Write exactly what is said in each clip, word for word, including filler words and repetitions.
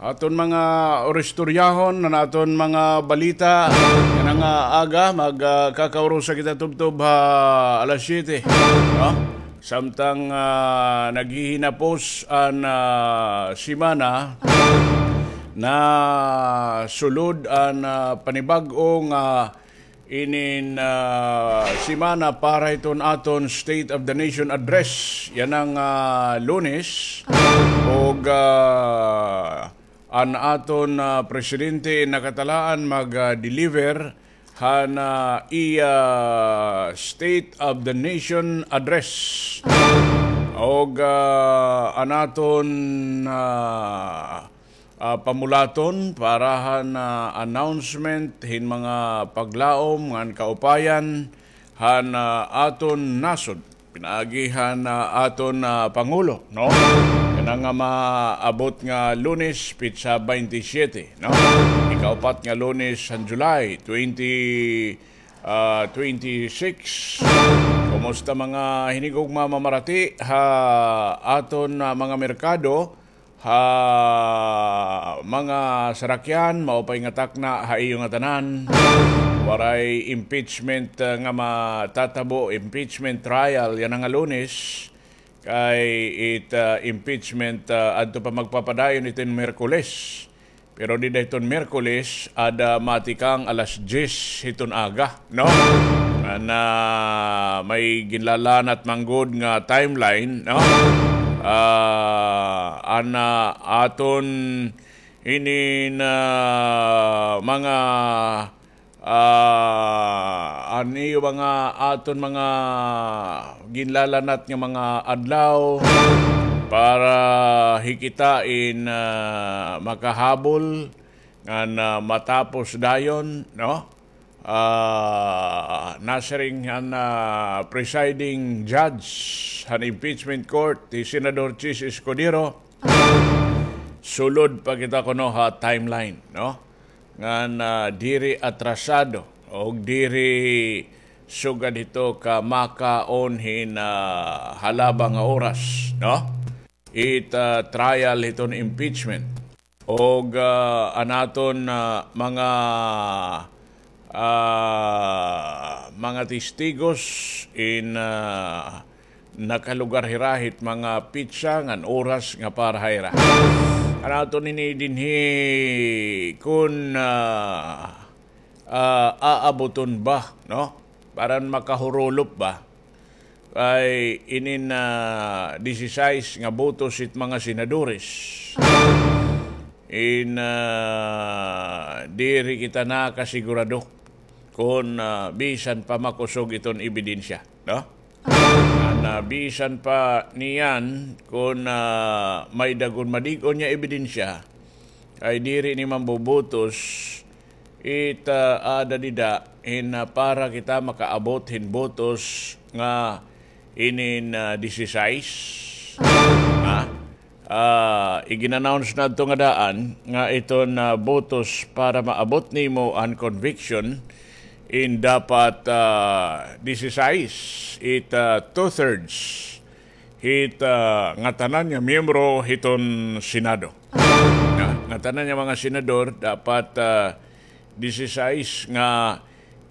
Aton mga uristoryahon, an aton mga balita yana nga aga, mag, ah, kakaurusa kita tubtob ha alas siyete, no? Samtang, ah, naghihinapos an, ah, semana, nasulod an, ah, panibag-o nga inin, ah, semana para hiton aton State of the Nation Address yana nga, ah, Lunes. Ug, ah, an aton, ah, presidente nakatalaan mag, ah, deliver han, ah, iya State of the Nation Address. Ug, ah, an aton, ah, ah, pamulaton para han, ah, announcement hin mga paglaom ngan kaupayan han, ah, aton nasod. Pinaagi han, ah, aton, ah, Pangulo, no? Yana nga maabot nga Lunes, petsa baynte siyete, no? Ikaupat nga Lunes han July, twenty, ah, twenty-six. Kumusta mga hinigugma, mamarati ha aton, ah, mga merkado? Ha mga sarakyan, maupay nga takna ha iyo ngatanan. Waray impeachment, ah, nga matatabo, impeachment trial yana nga Lunes. Kay it, ah, impeachment, ah, adto pa magpapadayon iton Miyerkules. Pero dida hiton Miyerkules, ada matikang alas diyes hiton aga, no? Nga na may ginlalanat man gud nga timeline, no? Ah, an, ah, aton inin, ah, mga, ah, an iyo mga aton mga ginlalanat nga mga adlaw para hi kita in, ah, makahabol ngan, ah, matapos dayon, no? Ah, nasiring han, ah, presiding judge han impeachment court, hi Senador Chiz Escudero, sulod pa kita kuno ha timeline, no? Ngan, ah, diri atrasado o diri sugad hito ka makaon hin, ah, halaba nga oras, no? It, ah, trial hiton impeachment. Ug, ah, an aton, ah, mga, ah, mga testigos in, ah, nakalugar hira hit mga petsa ngan oras nga para ha ira. An aton ini dinhi kun, ah, ah, aaboton ba, no? Para makahurulop ba? Ay inin, ah, disisais nga botos it mga senadores. In, ah, diri kita nakasigurado kon, ah, bisan pa makusog iton ebidensya, no? An, ah, bisan pa niyan kon, ah, may dagon madig-on nga ebidensya, ay diri ni mambobotos it, ah, aada dida hin, ah, para kita makaabot hin botos nga inin, ah, disisais. Ha? Ah, igin-announce nadto nga daan nga iton, ah, botos para maabot nimo an conviction in dapat, ah, disisais, it, ah, two-thirds hit, ah, ngatanan nga miyembro hiton Senado. Nga, ngatanan nga mga senador dapat, ah, disisais nga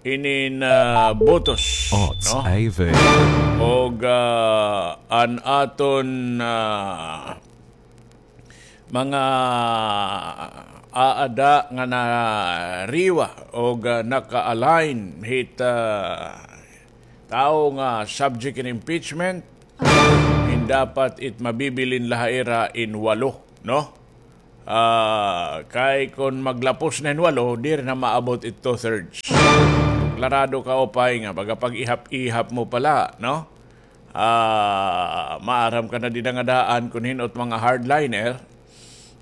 inin, ah, botos, no? Og, ah, an aton, ah, mga aada nga nariwa og, ah, naka-align hit, ah, tawo nga subject in impeachment, in dapat it mabibilin la ha ira in walo, no? Ah, kay kon maglapos na hin walo, diri na maabot it two-thirds. Klarado ka, upay nga baga pag-ihap-ihap mo pala, no? Ah, maaram ka na dida nga daan kon hin-o it mga hardliner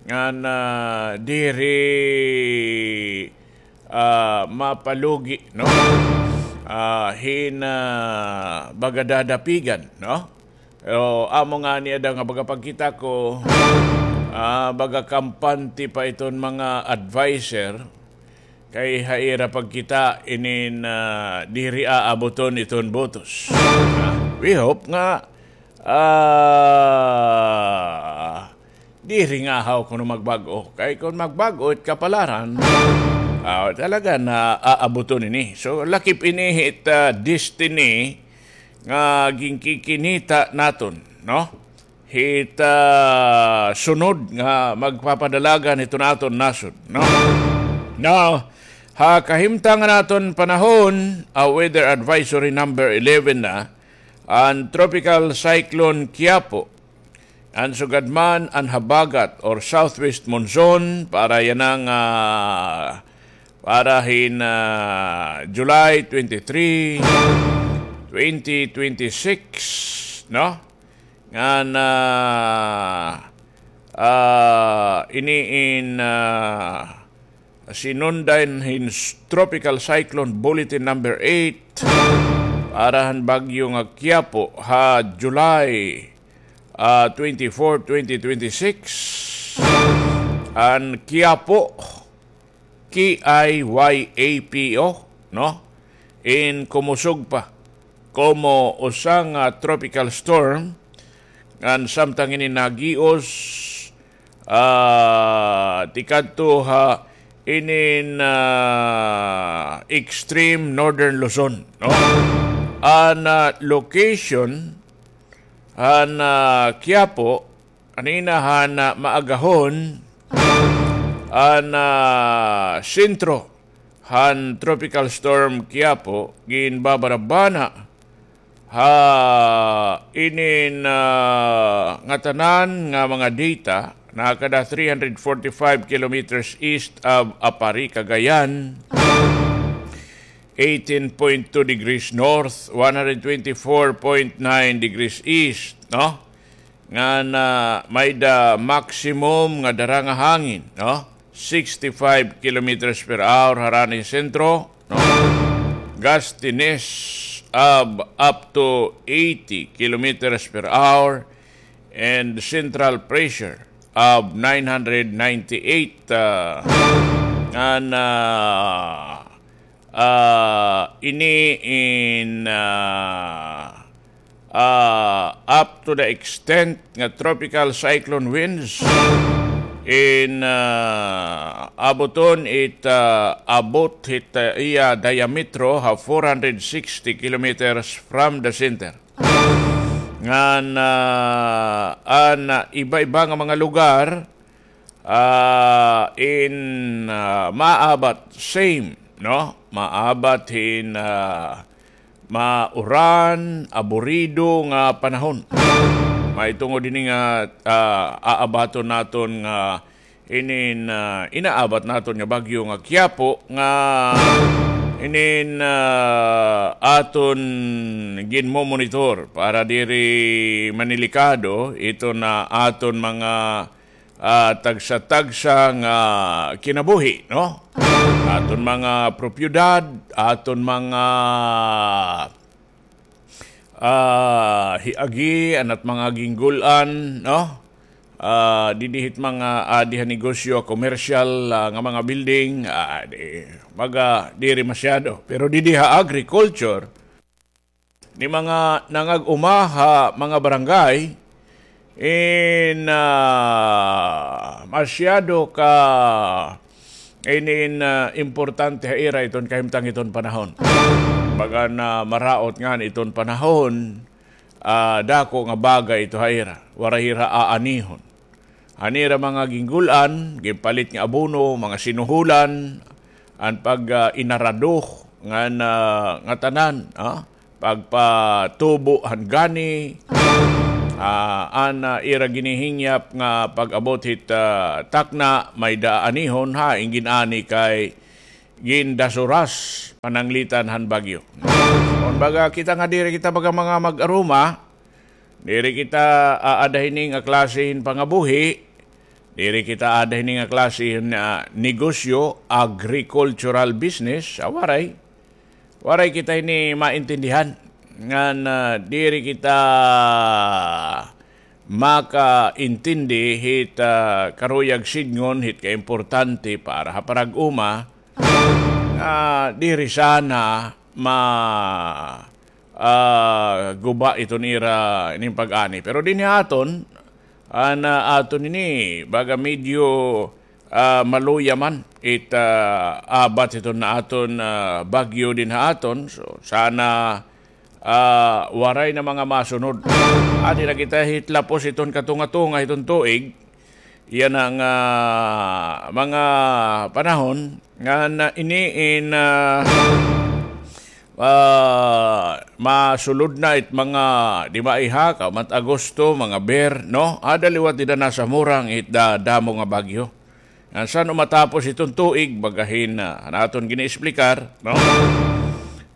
ngan, ah, diri, ah, mapalugi, no? Ah, hin, ah, baga dadapigan, no? Pero amo ngani ada nga baga pagkita ko, ah, baga kampante pa iton mga adviser kay ha ira pagkita inin, ah, diri aaboton iton botos. Ah, we hope nga, ah, Diri nga ahaw kuno magbag-o. Kay kon magbag-o it kapalaran, ah, talaga na aabuton ini. So, lakip ini hit, ah, destiny nga ginkikinita naton, no? Hit, ah, sunod nga magpapadalagan hiton aton nasod, no? Now, ha kahimtang han aton panahon, ah, weather advisory number eleven na, an Tropical Cyclone Kiapo, an sugad man an habagat or southwest monsoon para yana nga, ah, para hin, ah, July twenty-three, twenty twenty-six, no? Ngan, ah, ah, ini in, ah, sinundan hin s-, Tropical Cyclone Bulletin number eight para han bagyo nga Kiapo ha July, ah, twenty-four, twenty twenty-six. An Kiapo, K I Y A P O, no? In kumusog pa komo usa nga tropical storm, ngan samtang ini nagios, ah, tikadto ha inin, ah, extreme northern Luzon, no? An, ah, location han, ah, Quiapo, anina han, ah, maagahon, an, ah, sentro han Tropical Storm Quiapo ginbabarabana ha inin, ah, ngatanan nga mga data, nakada three hundred forty-five kilometers east of Aparri, Cagayan, eighteen point two degrees north, one hundred twenty-four point nine degrees east, no? Ngan, ah, may-da maximum nga dara nga hangin, no? Sixty-five kilometers per hour harani sentro, no? Gustiness of up to eighty kilometers per hour and central pressure of nine hundred ninety-eight, ah, ngan, ah, ah, ini in, ah, ah, up to the extent nga tropical cyclone winds in, ah, abuton it, ah, abot hit, ah, iya diametro ha four hundred sixty kilometers from the center. Ngan, ah, an, ah, iba-iba nga mga lugar, ah, in, ah, maabat, same, no? Maabat hin, ah, mauran, aburido nga panahon. Mahitungod hini nga, ah, aabaton naton nga inin, ah, inaabat naton nga bagyo nga Quiapo nga inin, ah, aton ginmomonitor para diri manilikado iton aton mga, ah, tagsa-tagsa nga kinabuhi, no? Aton mga propiedad, aton mga ah, hiagi, an at mga ginggul-an, no? Ah, didi hit mga, ah, adi ha negosyo, commercial, ah, nga mga building, ah, di, baga, diri masyado. Pero didi ha agriculture, ni mga nangag-uma ha mga barangay, in, ah, masyado ka inin, ah, importante ha ira iton kahimtang iton panahon. Baga na maraot ngani iton panahon, ah, dako nga bagay ito ha ira. Waray hira aanihon. An ira mga ginggul-an, ginpalit nga abono, mga sinuhulan, an pag, ah, inarado ngan, ah, ngatanan, ah, pagpatubo han gani, ah, an, ah, ira ginihingyap nga pag-abot hit, ah, takna, may-da aanihon, hain gin-ani kay gindasuras pananglitan han bagyo. Kon baga kita nga diri kita baga mga mag-aruma, diri kita aada hini nga klase hin pangabuhi, diri kita aada hini nga klase hin, ah, negosyo, agricultural business, ah, waray. Waray kita ini maintindihan. Ngan, ah, diri kita makaintindi hit, ah, karuyag sidngon hit kaimportante para ha parag-uma nga diri sana ma, ah, guba iton ira ining pag-ani. Pero dinhi ha aton, An, ah, aton ini, baga medyo, ah, maluya man it, ah, abat hiton nga aton, ah, bagyo dinhi ha aton. So, sana, ah, waray na mga masunod. Adi na kita hit lapos hiton katunga-tunga hiton tuig. Yana nga mga panahon ngan ini in, ah, ah, masulod na it mga, di ba, iha, kauman it Agosto, mga ber, no? Ada liwat dida na sa murang it da-, damo nga bagyo. Ngan san-o matapos iton tuig, baga hin, ah, an aton gini-explicar, no?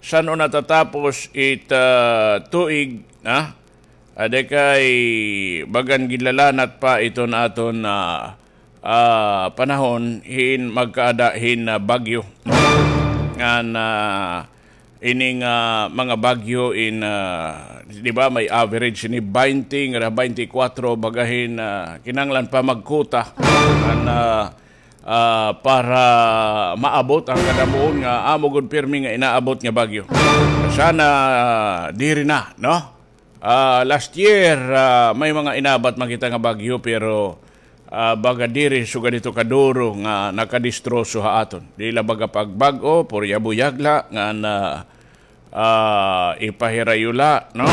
San-o natatapos it, ah, tuig, ha? Ada kay bagan ginlalanat pa iton aton, ah, ah, panahon hin magkaada hin, ah, bagyo. Ngan, ah, ini nga mga bagyo in, ah, di ba, may average ini baynte ngada baynte kwatro, baga hin, ah, kinahanglan pa magkuta. Ngan, ah, ah, para maabot an kadamuon nga amo gud pirmi nga inaabot nga bagyo. Sana, ah, diri na, no? Ah, last year, ah, may mga inabat man kita nga bagyo, pero, ah, baga diri sugad hito kaduro nga nakadistroso ha aton. Di la baga pagbag-o, purya buyag la, ngan, ah, ah, ipahirayo la, no?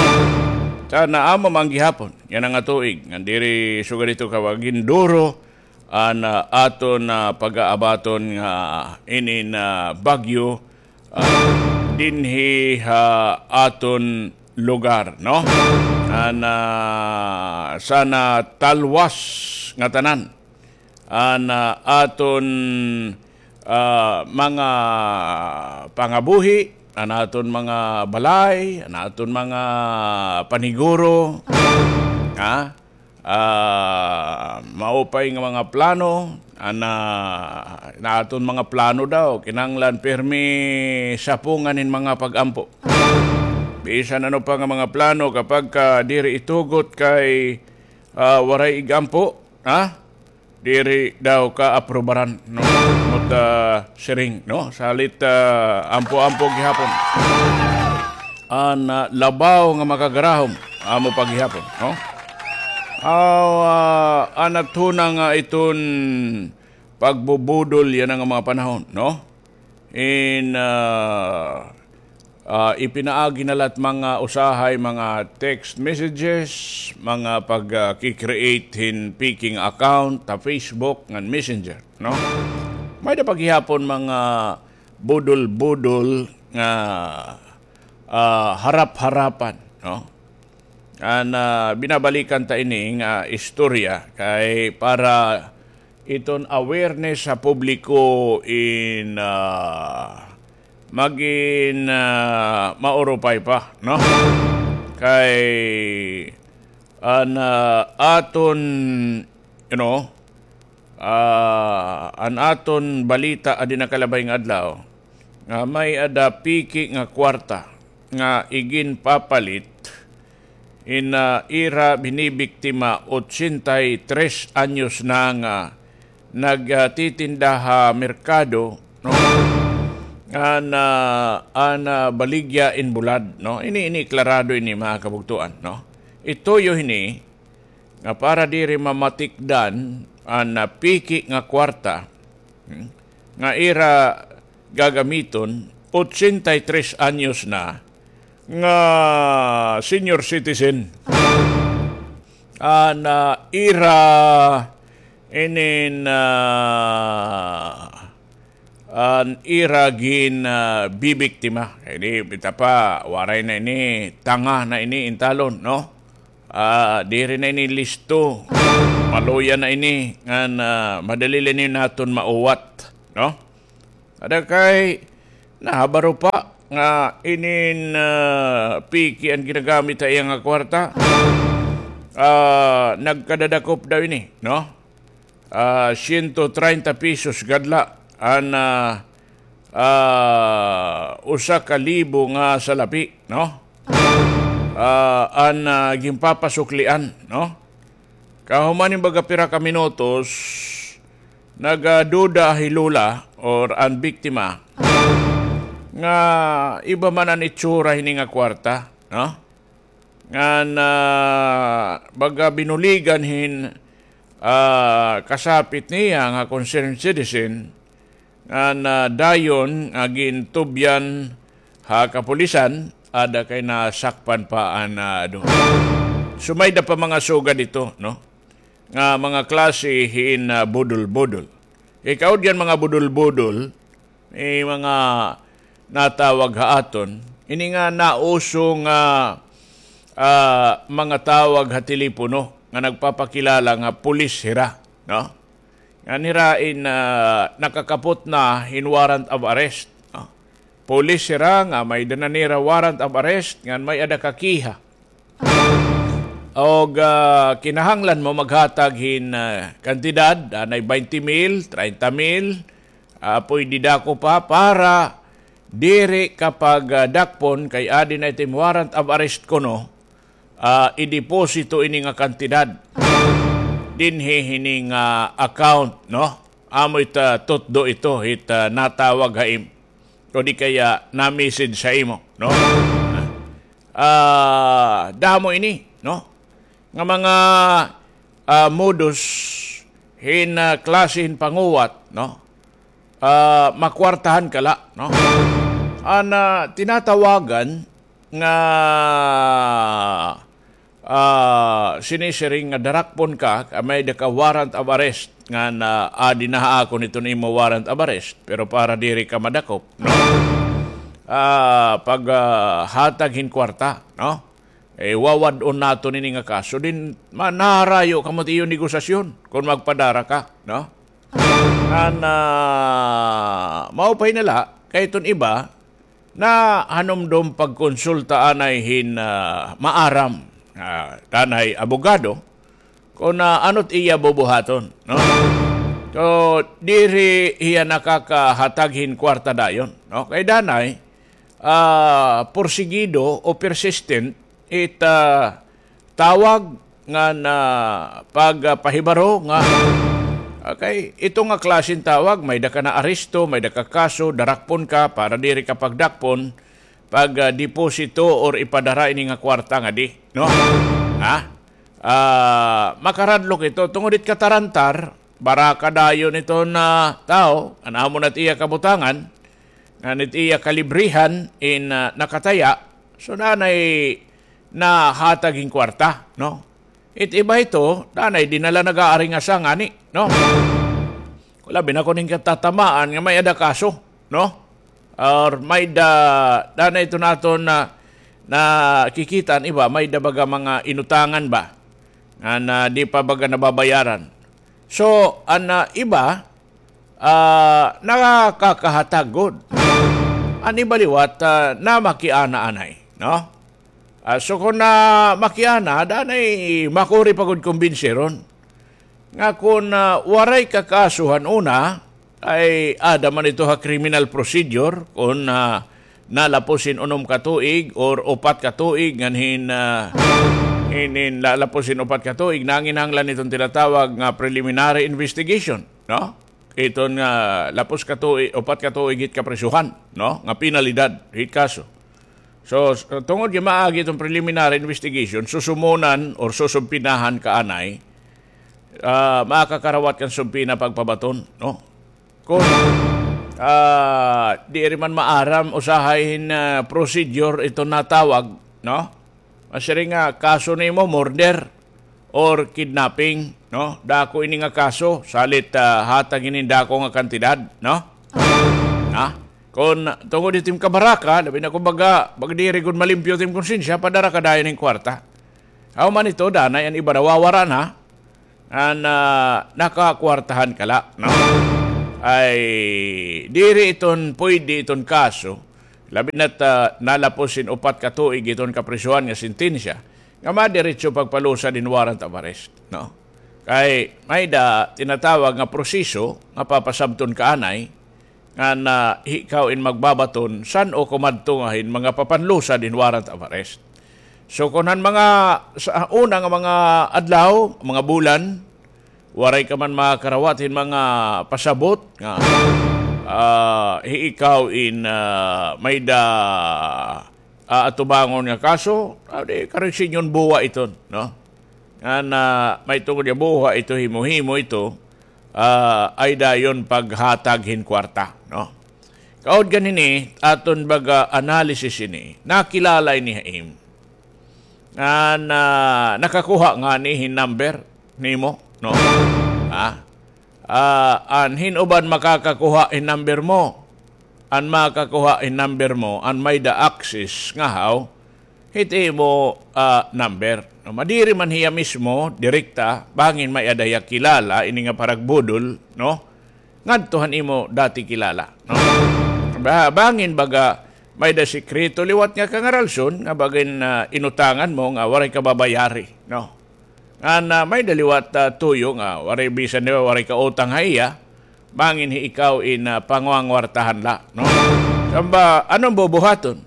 Sana amo man gihapon yana nga tuig, ngan diri sugad hito kaginduro an, ah, aton, ah, pag-aabaton nga inin, ah, bagyo, ah, dinhi ha aton lugar, no? An, ah, sana talwas ngatanan an, ah, aton, ah, mga pangabuhi, an aton mga balay, an aton mga paniguro, ha? Ah, maupay nga mga plano, an, ah, an aton mga plano daw, kinahanglan pirmi sapungan hin mga pag-ampo. Bisan ano pa nga mga plano, kapag ka diri itugot kay, ah, waray ig-ampo, ha? Diri daw kaaprubaran, no? Amot, ah, siring, no? Salit, ah, ampo-ampo gihapon. An, ah, labaw nga makagarahom, amo pa gihapon, no? Aw, ah, an aton nga iton pagbubudol yana nga mga panahon, no? In, ah, ah, ipinaagi na la it mga usahay, mga text messages, mga pag, ah, ki-create hin fake nga account ha Facebook ngan Messenger, no? May-ada pa gihapon mga budol-budol nga, ah, harap-harapan, no? An, ah, binabalikan ta ini nga istorya kay para iton awareness ha publiko in, ah, magin, ah, maurupay pa, no? Kay an, ah, aton, you know, ah, an aton balita adi nakalabay nga adlaw nga may-ada piki nga kwarta nga iginpapalit in, ah, ira binibiktima ochenta y tres anyos na nga nagtitinda ha merkado, no? An, ah, an, ah, baligya in bulad, no? Ini, ini klarado ini, mga kabugtoan, no? Ituyo hini nga para diri mamatikdan an, ah, piki nga kwarta, hmm, nga ira gagamiton, ochenta y tres anyos na, nga senior citizen. An, ah, ira inin, ah, an ira gin, ah, bibiktima. Kay di, bita pa, waray na ini, tanga na ini intalon, no? Ah, diri na ini listo. Maluya na ini, ngan, ah, madali la ini naton mauwat, no? Ada kay nahabaro pa nga inin, ah, piki an ginagamit ha iya nga kwarta. Ah, nagkadadakop daw ini, no? Ah, siyento treinta pesos gad la an, ah, ah, usa ka libo nga salapi, no? Ah, an, ah, ginpapasuklian, no? Kahuman hin baga pira ka minutos, nagaduda hi Lola or an biktima nga iba man an itsura hini nga kwarta, no? ngan, ah, baga binuligan hin, ah, kasapit niya nga concerned citizen, ngan, ah, dayon nga gintubyan ha kapulisan, ada kay nasakpan pa an, ah, duha. So, may-ada pa mga sugad ito, no? Nga mga klase hin, ah, budol-budol. Ikaw diyan mga budol-budol, may mga natawag ha aton. Ini nga nauso nga, ah, mga tawag ha telepono nga nagpapakilala nga pulis hira, no? Ngan hira in, ah, nakakapot na hin warrant of arrest, no? Pulis hira nga may-ada na nira warrant of arrest, ngan may-ada ka kiha. Og, ah, kinahanglan mo maghatag hin, ah, kantidad, anay baynte mil, treinta mil, ah, pwede dako pa para diri ka pag, ah, dakpon kay adi na it im warrant of arrest kuno, ah, ideposito ini nga kantidad dinhi hini nga account, no? Amo it, ah, tutdo ito, it, ah, natawag ha im-, o di kaya na-message sa imo, no? Ah, damo ini, no? Nga mga, ah, modus hin, ah, klase hin panguwat, no? Ah, makwartahan ka la, no? An, ah, tinatawagan nga, ah, sinisiring nga darakpon ka, ka may-ada ka warrant of arrest, ngan adi na ha akon iton imo warrant of arrest, pero para diri ka madakop, no? Ah, pag, ah, hatag hin kwarta, no? Eh, wawad-on naton ini nga kaso, din, ma-, naharayo kamo it iyo negosasyon kon magpadara ka, no? Ngan, ah, maupay na la, kay iton iba, nahanumdom pagkonsulta anay hin, ah, maaram, ah, danay abogado, kon, ah, ano it iya bubuhaton, no? So, diri hiya nakakahatag hin kwarta dayon, no? Kay danay, ah, porsigido o persistent it, ah, tawag ngan, ah, pagpahibaro nga, okay, ito nga klase hin tawag, may-ada ka naaresto, may-ada ka kaso, darakpon ka, para diri ka pagdakpon, pag, ah, deposito or ipadara ini nga kwarta ngadi, no? Ha? Ah, makaradlok ito, tungod it katarantar, baraka dayon iton, ah, tawo, an amo na it iya kabutangan, ngan it iya kalibrihan in, ah, nakataya, so danay nahatag hin kwarta, no? It iba ito, danay dinala nag-aaringasa ngani, no? Labi na kon hin katatamaan nga may-ada kaso, no? Or may-ada, danay ito naton na, nakikita an iba, may-ada baga mga inutangan ba? Nga na di pa baga nababayaran. So, an, ah, iba, ah, nakakahatag gud. An iba liwat, ah, namakiana anay, no? Ah, so kon namakiana, danay makuri pa gud kumbinsiron. Nga kon, ah, waray ka kaso han una, ay ada man ito ha criminal procedure, kon, ah, nalapos hin unom ka tuig or upat ka tuig ngan hin, ah, hin, hin nalapos hin upat ka tuig, nanginahanglan iton tinatawag nga preliminary investigation, no? Iton nga lapos ka tuig, upat ka tuig hit kaprisohan, no? Nga penalidad hit kaso. So, s-, tungod nga maagi iton preliminary investigation, susumunan or susumpinahan ka anay, ah, makakarawat kan sumpina pagpabaton, no? Kon, ah, diri man maaram usahay hin, ah, procedure iton natawag, no? Masiring nga kaso nimo murder or kidnapping, no? Dako ini nga kaso, salit, ah, hatag ini dako nga kantidad, no? Ha? Kon tungod hit im kabaraka, labi na kon baga, baga diri gud malimpyo it im konsensya, padara ka dayon hin kwarta. Aw man ito, danay an iba nawawara na, an, ah, nakakwartahan ka la, no? Ay, diri iton pwede iton kaso, labi na't, ah, nalapos hin upat ka tuig iton kaprisohan nga sentensya, nga madiretso pagpalusad hin warrant of arrest, no? Kay may-ada tinatawag nga proseso nga papasabton ka anay, ngan, ah, ikaw in magbabaton san-o kumadto nga hin mga papanlusad hin warrant of arrest. So, kon han mga, sa una nga mga adlaw, mga bulan, waray ka man makarawat hin mga pasabot nga, ah, hi-, ikaw in, ah, may-ada, ah, atubangon nga kaso, ah, di, karuyag sa inyo buwa iton, no? Ngan, ah, may tungod nga buwa ito, himo-himo ito, ah, ay dayon paghatag hin kwarta, no? Kaud kan hini, aton baga analysis ini, nakilala ini ha imo. Ngan, ah, nakakuha ngani hin number nimo, no? Ha? Ah, an hin uban makakakuha hin number mo. An makakuha hin number mo, an may-da access ngahaw hit imo, ah, number. No, madiri man hiya mismo, direkta, bangin may-ada hiya kilala, ini nga paragbudol, no? Ngadto han imo dati kilala, no? Ba-, bangin baga may-da sikreto liwat nga kangaralson, nga bangin, ah, inutangan mo nga waray ka babayari, no? Ngan, ah, may-da liwat, ah, tuyo nga waray bisan na waray ka utang ha iya, bangin hi ikaw in, ah, pangwangwartahan la, no? Kamba, ano an bubuhaton?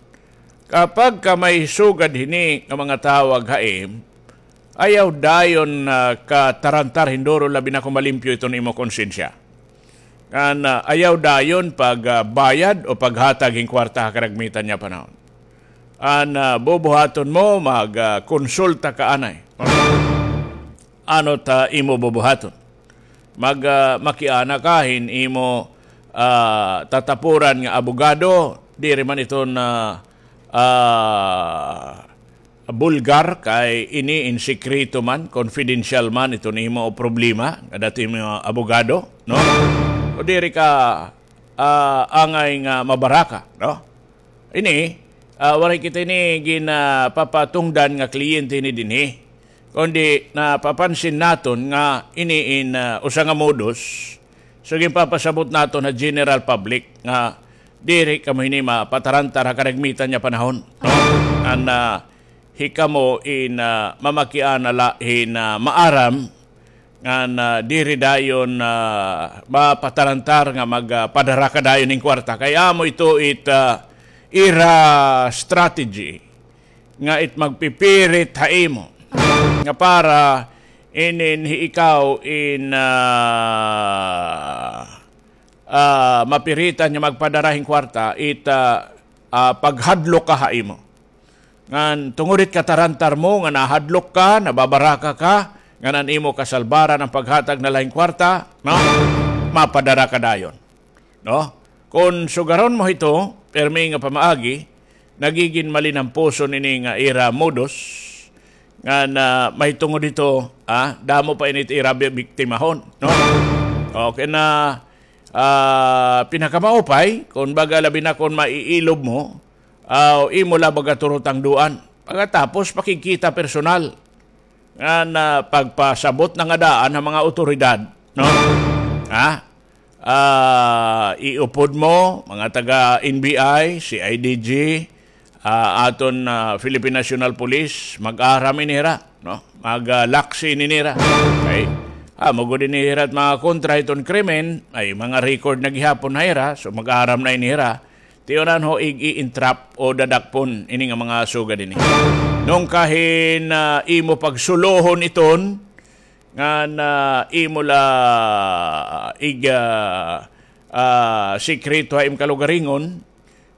Kapag ka may sugad hini nga mga tawag ha im, ayaw dayon, ah, ka tarantar hin duro, labi na kon malimpyo iton imo konsensya. Ngan, ah, ayaw dayon pag, ah, bayad o paghatag hin kwarta ha karagmitan nga panahon. An, ah, bubuhaton mo, mag, ah, konsulta ka anay. Ano ta imo bubuhaton? Mag, ah, makiana ka hin imo, ah, tatapuran nga abogado, diri man iton, ah, ah, bulgar, kay ini in sikreto man, confidential man iton imo problema, nga dati mo abogado, no? O diri ka, ah, angay nga mabaraka, no? Ini, ah, waray kita ini ginapapatungdan nga kliyente ini dinhi. Kundi napapansin naton nga ini in, ah, usa nga modus. So, ginpapasabot naton ha general public nga diri kamo hini mapatarantar ha karagmitan nga panahon, no? An, ah, hikamo in, ah, mamakiana la hin, ah, maaram ngan, ah, diri dayon, ah, mapatarantar nga mag, ah, padara ka dayon hin kwarta. Kay amo ito it, ah, ira strategy nga it magpipirit ha imo nga para inin hi ikaw in, ah, ah, mapiritan nga magpadara hin kwarta, it, ah, ah, paghadlok ka ha imo. Ngan tungod it katarantar mo nga nahadlok ka, nababaraka ka, ngan an imo kasalbaran an paghatag na la hin kwarta, no? Mapadara ka dayon, no? Kon sugaron mo hito, pirmi nga pamaagi, nagigin malinampuson ini nga ira modus, ngan mahitungod hito, ah, damo pa ini it ira bi-, biktimahon, no? Okay na, ah, pinakamaupay, kon baga labi na kon maiilob mo, aw, imo la baga turutangduan. Pagkatapos, pakigkita personal. Ngan pagpasabot na nga daan ha mga awtoridad, no? Ha? Ah, iupod mo, mga taga N B I, C I D G, ah, aton, ah, Philippine National Police, mag-aram ini hira, no? Mag, ah, laksi ini hira. Okay? Ah, amo gud ini hira it mga kontra hiton krimen, ay mga record na gihapon ha ira, so mag-aram na ini hira. Tiyonan ho, ig-i-entrap o dadakpon ini nga mga sugad ini. Nung kahin, ah, imo pagsulohon iton, ngan imo la ig, ah, ah, sikreto ha im kalugaringon,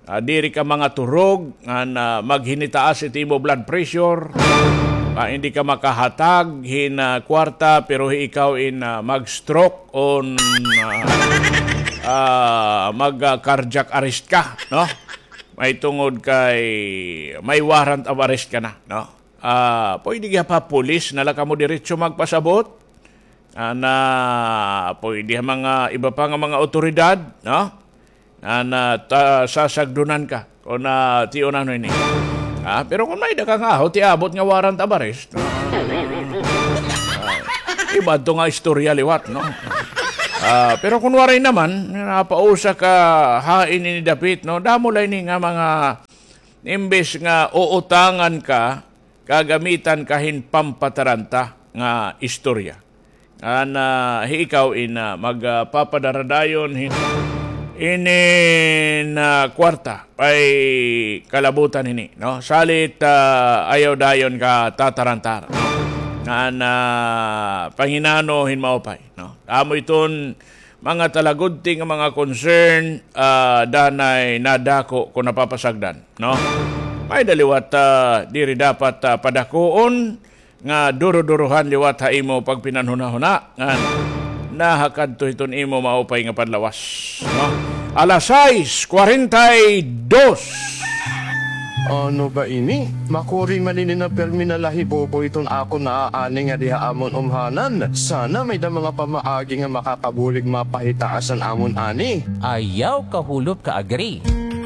ah, diri ka mangaturog, ngan, ah, maghinitaas it imo blood pressure, ah, hindi ka makahatag hin, ah, kwarta, pero ikaw in, ah, mag-stroke on, ah, ah, mag, ah, cardiac arrest ka, no? Mahitungod kay may warrant of arrest ka na, no? Ah, pwede gihap ha pulis na la kamo diretso magpasabot. Ana, pwede ha mga iba pa nga mga awtoridad, no? Ana, ta-, sasagdunan ka kon, ah, tiyonan ini. Ah, pero kon may-ada ka nga, ho, ti abot nga warrant of arrest. Ah, iba to nga istorya liwat, no? Ah, pero kon waray naman, napausa ka hain ini dapit, no? Damo la ini nga mga imbes nga uutangan ka, gagamitan ka hin pampataranta nga istorya. Ana, hi ikaw in, ah, mag, ah, papadaradayon hin, inin, ah, kwarta, ay kalabutan hini, no? Salit, ah, ayaw dayon ka tatarantar, no? Ana, panginano hin maupay, no? Amo iton mga talagudti nga mga concern, ah, danay nadako kon napapasagdan, no? May-ada liwat, ah, diri dapat, ah, padakuon nga duro-durohan liwat ha imo pagpinanhunahuna ngan nahakadto hiton imo maupay nga panlawas, no? Alas sais kwarenta y dos. Ano ba ini? Makuri man ini nga pirmi na lahibobo iton akon naaani ngadi ha amon umhanan. Sana may-ada mga pamaagi nga makakabulig mapahitaa san amon ani. Ayaw kahulop ka, Agri.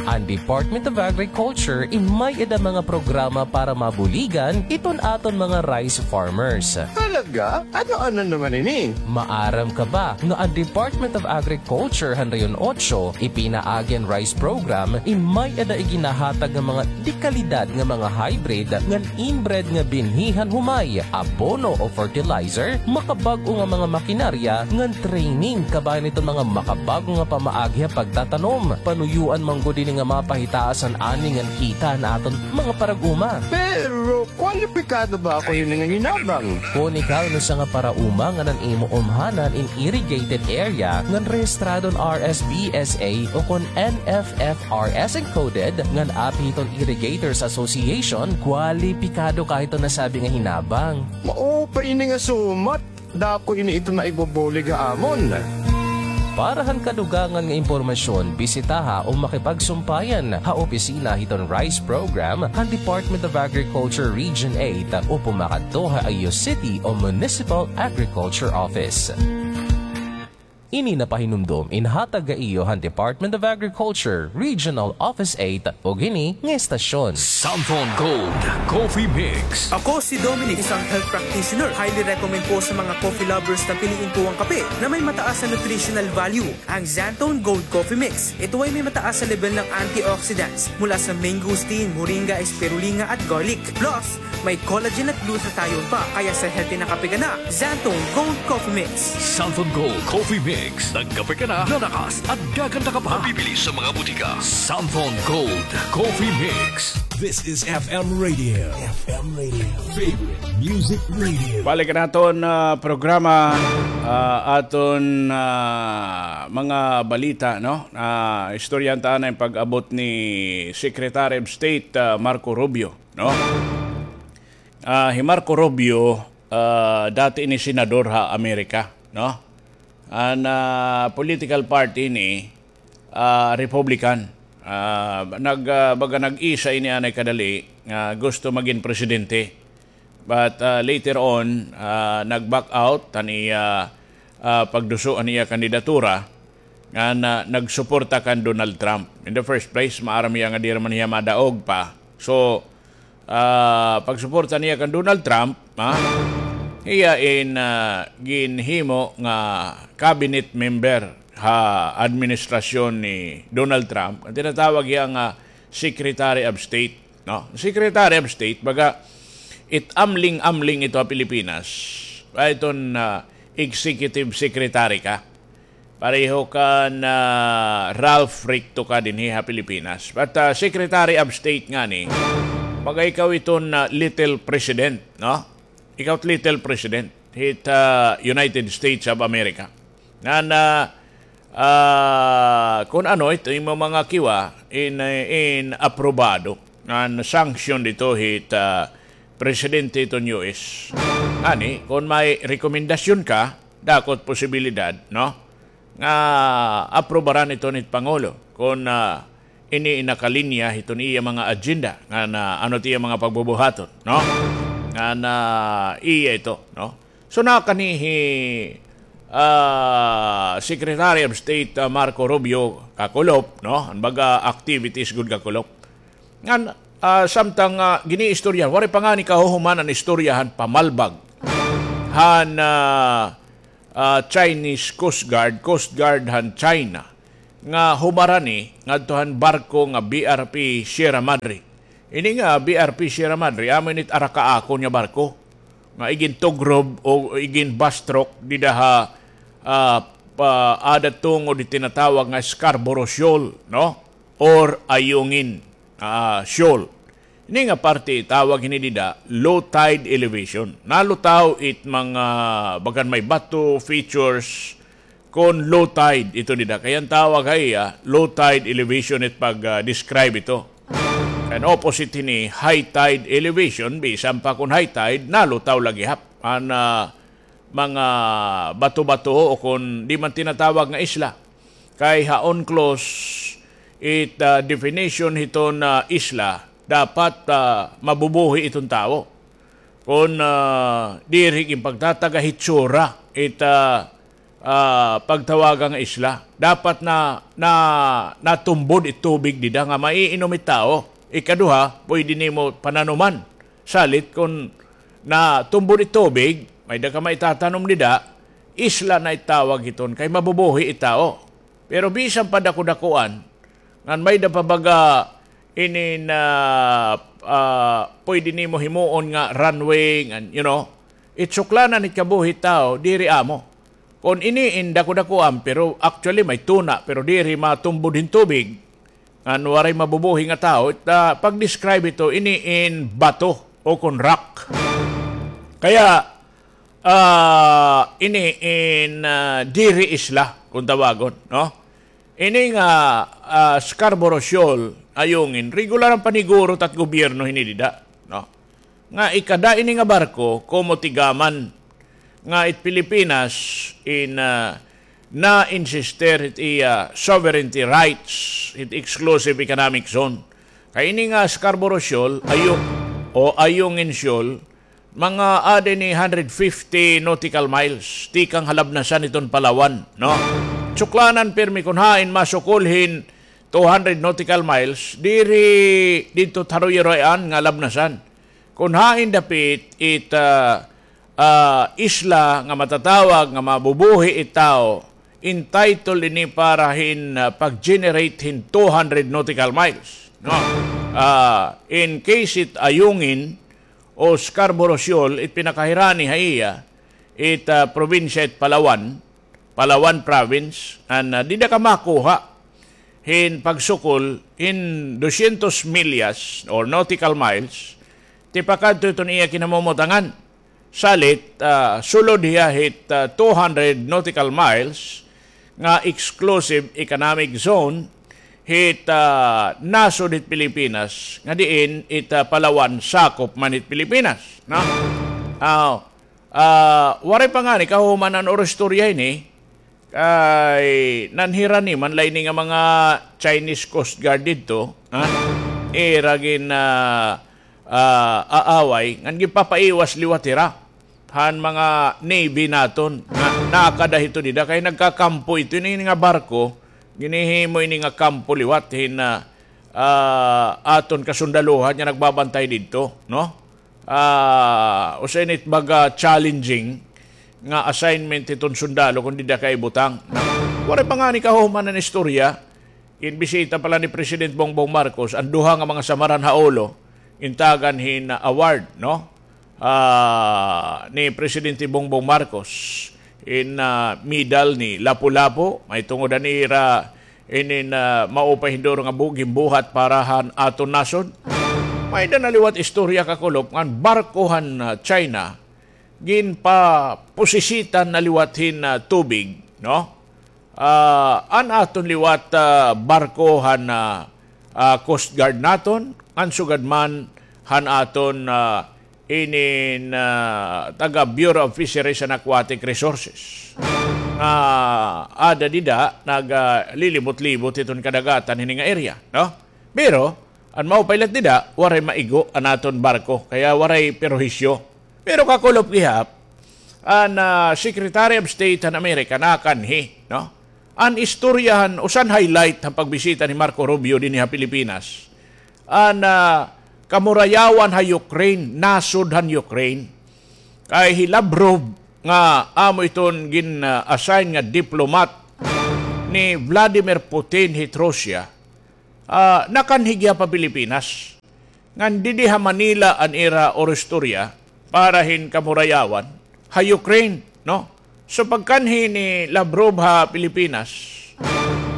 An Department of Agriculture in may-ada mga programa para mabuligan iton aton mga rice farmers. Talaga? Ano-ano naman ini? Maaram ka ba nga an Department of Agriculture han Rehiyon Otso ipinaagi an rice program in may-ada iginahatag nga mga dekalidad nga mga hybrid ngan inbred nga binhi han humay, abono o fertilizer, makabag-o nga mga makinarya ngan training kabahin iton mga makabag-o nga pamaagi ha pagtatanom. Panuyoan man gud ini nga mapahitaas an ani ngan kita han aton mga parag-uma. Pero kwalipikado ba ako hini nga hinabang? Kon ikaw in usa nga parauma ngan an imo umhanan in irrigated area ngan rehistrado han R S B S A o kon N F F R S encoded ngan api hiton Irrigators Association, kwalipikado ka hiton nasabi nga hinabang. Mao pa ini nga sumat. Dako ini ito nga ibubulig ha amon. Para han kadugangan nga impormasyon, bisitaha o makipagsumpayan ha opisina hiton rice program han Department of Agriculture Region eight o pumakadto ha iyo city o municipal agriculture office. Ini napahinumdom in hatag ha iyo han Department of Agriculture, Regional Office eight, ug hini nga estasyon. Santon Gold Coffee Mix. Ako si Dominic, isang health practitioner. Highly recommend ko sa mga coffee lovers na piliin ko ang kape na may mataas na nutritional value, ang Xanthone Gold Coffee Mix. Ito ay may mataas na level ng antioxidants mula sa mangosteen, moringa, spirulina at garlic. Plus, may collagen at glutathione pa, kaya sa healthy na kape ka na, Xanthone Gold Coffee Mix. Xanthone Gold Coffee Mix. Nagkape ka na, lalakas at gaganda ka pa. Mabibili sa mga butika. Xanthone Gold Coffee Mix. This is F M Radio. F M Radio. Favorite Music Radio. Balik naton, ah, programa, ah, aton, ah, mga balita, no? Ah, istoryahan ta anay pag-abot ni Secretary of State, ah, Marco Rubio, no? Ah, hi Marco Rubio, ah, dati ini senador ha Amerika, no? An, ah, political party ini, ah, Republican. Ah, nag, ah, baga nag-isa ini anay kadali nga gusto magin presidente. But, ah, later on, ah, nag-back out han iya, ah, pagduso han iya kandidatura, ngan nagsuporta kan Donald Trump. In the first place, maaram hiya nga diri man hiya madaog pa. So, ah, pagsuporta niya kan Donald Trump, ha? Hiya in, ah, ginhimo nga cabinet member ha administrasyon ni Donald Trump, an tinatawag hiya nga Secretary of State, no? Secretary of State, baga, it amling-amling ito ha Pilipinas. Ay, iton, ah, executive secretary ka. Pareho kan, ah, Ralph Ricto ka dinhi ha Pilipinas. But, ah, Secretary of State ngani, baga ikaw iton, ah, little president, no? Ikaw it little president hit, ah, United States of America. Ngan, ah, ah, kon ano ito imo mga kiwa in, in aprobado ngan sanction dito hit, ah, presidente iton U S. Ngani, kon may rekomendasyon ka, dako it posibilidad, no? Nga aprobaran ito nit Pangulo kon, ah, ini in nakalinya hiton iya mga agenda, ngan ano it iya mga pagbubuhaton, no? Ngan iya ito, no? So, nakani hi, ah, Secretary of State, ah, Marco Rubio kakulop, no? An baga activities gud kakulop. Ngan, ah, samtang, ah, giniistorya, waray pa ngani kahuhuman an istorya han pamalbag han, ah, ah, Chinese Coast Guard, Coast Guard han China, nga humarani ngadto han barko nga B R P Sierra Madre. Ini nga B R P Sierra Madre, amo ini it arakaakon nga barko nga igintugrob o iginbastrok dida ha, ah, pa-, ada tungod it tinatawag nga Scarborough Shoal, no? Or Ayungin, ah, Shoal. Ini nga parte, tawag hini dida low tide elevation. Nalutaw it mga bagan may bato, features, kon low tide ito dida. Kay an tawag ha iya, low tide elevation it pag, ah, describe ito. Kay opposite hini high tide elevation, bisan pa kon high tide, nalutaw la gihap an, ah, mga bato-bato o kon di man tinatawag nga isla. Kay ha UNCLOS it, ah, definition hiton, ah, isla, dapat, ah, mabubuhi iton tawo. Kon, ah, diri ginpagtatag-a hitsura it, ah, ah, pagtawaga nga isla. Dapat na, na, natumbod it tubig dida nga maiinom it tawo. Ikaduha, pwede nimo pananuman. Salit kon natumbod it tubig, may-ada ka maitatanom dida, isla na it tawag hiton kay mabubuhi it tawo. Pero bisan pa dakudakuan, ngan may-ada pa baga inin, ah, pwede nimo himuon nga runway, ngan, you know, it suklanan it kabuhi tawo, diri amo. Kon ini in dakudakuan, pero actually may tuna, pero diri matumbod hin tubig, ngan waray mabubuhi nga tawo, it, ah, pag-describe ito, ini in bato o kon rock. Kaya, ah, ini in, ah, diri isla, kung tawagon, no? Ini nga, ah, Scarborough Shoal, Ayungin, regular an paniguro tat gobyerno hini dida, no? Nga ikada ini nga barko, komo tigaman nga it Pilipinas in, ah, na-insister it iya sovereignty rights, it exclusive economic zone. Kay ini nga Scarborough Shoal, Ayu-, o Ayungin Shoal, mga aada ini hundred fifty nautical miles, tikang ha labnasan iton Palawan, no? Suklanan pirmi kon hain masukol hin two hundred nautical miles, diri didto ha Royroyan nga labnasan. Kon hain dapit it, ah, ah, isla nga matatawag nga mabubuhi it tawo, entitled ini para hin, ah, pag-generate hin two hundred nautical miles, no? Ah, in case it Ayungin o Scarborough Shoal, it pinakahirani ha iya, it, ah, probinsya it Palawan, Palawan Province, an, ah, dida ka makuha hin pagsukol hin dosyentos milyas or nautical miles, tipakadto iton iya kinamumutangan. Salit, ah, sulod hiya hit, ah, two hundred nautical miles nga exclusive economic zone hit, ah, nasod hit Pilipinas, nga diin it, ah, Palawan sakop man hit Pilipinas, no? Ah, ah, waray pa ngani kahuman an oro istorya ini, kay nanhirani man la ini nga mga Chinese Coast Guard didto, ha? Ira gin, ah, ah, aaway, ngan ginpapaiwas liwat hira han mga navy naton. Na, nakada hito dida, kay nagkakampo ito, ini nga barko, ginhihimo ini nga kampo liwat hin, ah, ah, aton kasundaluhan nga nagbabantay didto, no? Ah, usa ini it baga challenging nga assignment hiton sundalo kon dida ka ibutang. Waray pa ngani kahuman an istorya, ginbisita pa la ni President Bongbong Marcos an duha nga mga samaran ha ulo, gintagan hin award, no? Ah, ni Presidente Bongbong Marcos in, ah, medal ni Lapu-Lapu, mahitungod han ira inin, ah, maupay hin duro nga bu-, ginbuhat para han aton nasod. May-ada na liwat istorya, Kakulop, ngan barko han, ah, China, ginpapusisitan na liwat hin, ah, tubig, no? Ah, an aton liwat, ah, barko han, ah, ah, Coast Guard naton, ngan sugad man han aton, ah, inin, ah, taga Bureau of Fisheries and Aquatic Resources. Nga aada dida, naga, ah, lilibot-libot hiton kadagatan hini nga area, no? Pero, an maupay la dida, waray maigo an aton barko, kaya waray perhisyo. Pero, Kakulop, gihap, an, ah, Secretary of State han Amerika nakanhi, no? An istorya han, usa han highlight han pagbisita ni Marco Rubio dinhi ha Pilipinas, an, ah, kamurayawan ha Ukraine, nasod han Ukraine. Kay hi Lavrov nga amo iton gin, ah, assign nga diplomat ni Vladimir Putin hit Russia, ah, nakanhi gihap ha Pilipinas. Ngan didi ha Manila an ira oro istorya para hin kamurayawan ha Ukraine, no? So, pagkanhi ni Lavrov ha Pilipinas,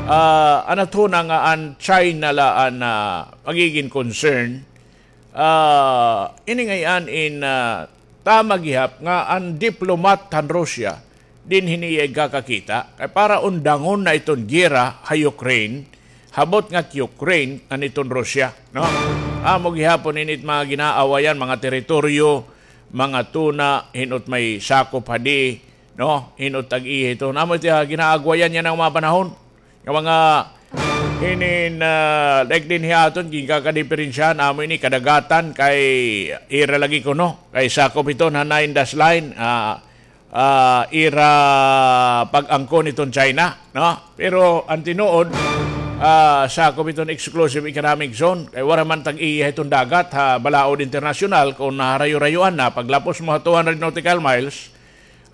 ah, an athuna nga an China la an, ah, magigin concern, ah, ini ngay-an in, ah, tama gihap nga an diplomat han Russia dinhi niya igkakakita, kay para undangon na iton giyera ha Ukraine, ha butnga hit Ukraine ngan iton Russia, no? Amo gihapon ini it mga ginaawayan, mga teritoryo, mga tuna, hin-o it may sakop hadi, no? Hin-o it tag-iya hiton. Amo it, ah, ginaagwayan yana nga mga panahon. Nga mga hinin, ah, like dinhi ha aton, ginkakadiperensiyahan, amo ini kadagatan kay ira lagi kuno. Kay sakop hiton ha nine dash line, ah, ah, ira pag-angkon hiton China, no? Pero an tinuod, ah, sakop hiton exclusive economic zone. Kay wara man tag-iya hiton dagat ha balaod internasyonal kon naharayo-rayoan na. Paglapos mo ha two hundred nautical miles,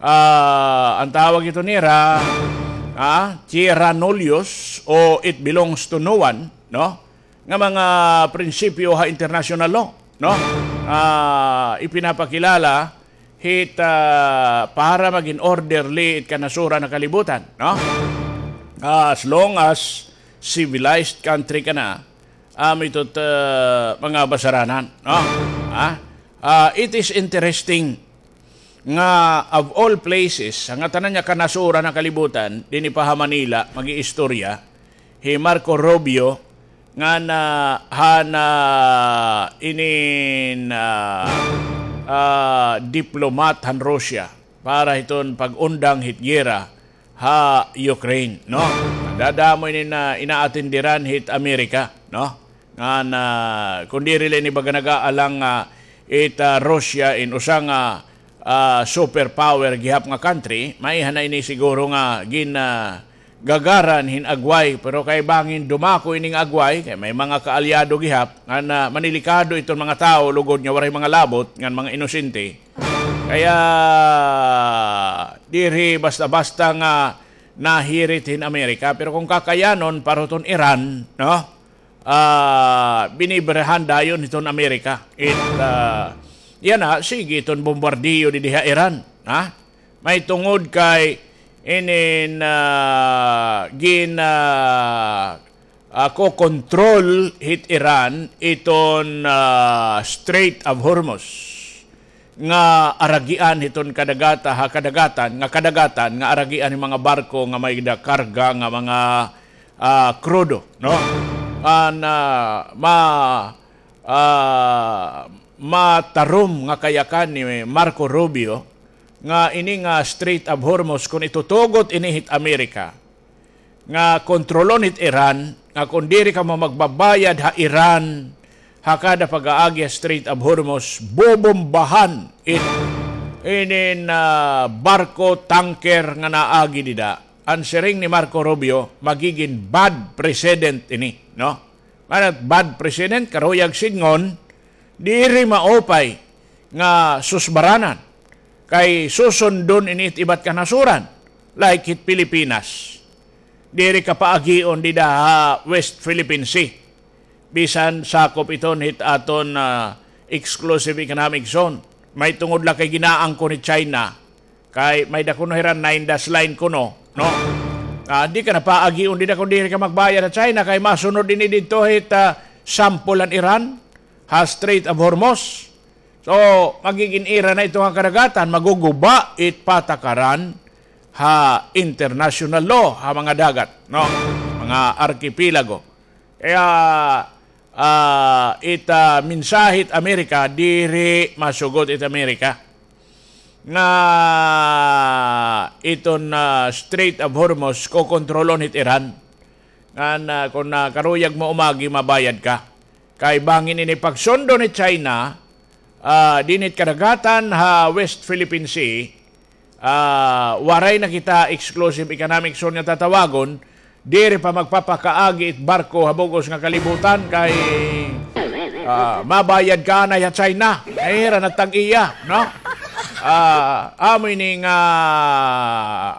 ah, an tawag hiton nira, ah, terra nullius o it belongs to no one, no? Nga mga prinsipyo ha international law, no? Ah, ipinapakilala hit, ah, para magin orderly it kanasuran ha kalibutan, no? Ah, as long as civilized country ka na, amo ito it, ah, mga basaranan, no? Ah, ah, it is interesting nga of all places, ha ngatanan nga kanasuran ha kalibutan, dinhi pa ha Manila, mag-iistorya, hi Marco Rubio, ngan han inin, ah, ah, diplomat han Russia para hiton pag-undang hit giyera ha Ukraine, no? Dada amo ini nga inaatenderan hit Amerika, no? Ngan, ah, kon diri la ini baga nag-aalang, ah, it, ah, Russia in usa nga, ah, superpower gihap nga country, maiha na ini siguro nga gin, ah, gagaran hin agway, pero kay bangin dumako ini nga agway, kay may mga kaalyado gihap, ngan, ah, manilikado iton mga tawo, lugod nga waray mga labot, ngan mga inosente. Kaya, diri basta-basta nga nahirit hin Amerika, pero kon kakayanon, para hiton Iran, no? Ah, binibirahan dayon hiton Amerika. It, ah, yana, sige iton bombardiyo didi ha Iran, ha? May tungod kay inin, ah, gin, ah, ah, kokontrol hit Iran iton, ah, Strait of Hormuz nga aragian hiton kadagata-, ha kadagatan, nga kadagatan nga aragian hin mga barko nga may da karga nga mga, ah, krudo, no? An, ah, ma-, ah, matarom nga kayakan ni Marco Rubio nga ini nga Strait of Hormuz, kon itutugot ini hit Amerika, nga kontrolon hit Iran, nga kon diri kamo magbabayad ha Iran ha kada pag-aagi ha Strait of Hormuz, bobombahan it inin, ah, barko, tanker nga naagi dida. An siring ni Marco Rubio, magigin bad precedent ini, no? Ngan an bad precedent, karuyag sidngon, diri maupay nga susbaranan. Kay susundon ini it iba't kanasuran, like hit Pilipinas. Diri ka paagion dida ha West Philippine Sea. Bisan sakop iton hit aton, ah, exclusive economic zone. May tungod la kay ginaangkon ni China. Kay may da kuno hira nine dash line kuno, no? Ah, di ka na paagion dida kon diri ka magbayad ha China, kay masunod ini didto hit, ah, sample an Iran ha Strait of Hormuz. So, magigin ira na ito nga kadagatan, maguguba it patakaran ha international law, ha mga dagat, no? Mga arkipelago. Kaya, ah, it, ah, mensahe it Amerika, diri masugot it Amerika nga iton, ah, Strait of Hormuz kokontrolon hit Iran. Ngan, ah, kon, ah, karuyag mo umagi, mabayad ka. Kay bangin ini pagsundo ni China, ah, dinhi it kadagatan ha West Philippine Sea, ah, waray na kita exclusive economic zone nga tatawagon, diri pa magpapakaagi it barko ha bug-os nga kalibutan kay, ah, mabayad ka anay ha China. Ay, hira na tag-iya, no? Ah, amo ini nga,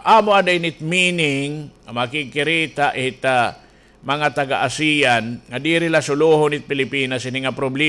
amo ada ini it meaning, makikirita it, ah, mga taga-ASEAN nga diri la suluhon it Pilipinas ini nga problema.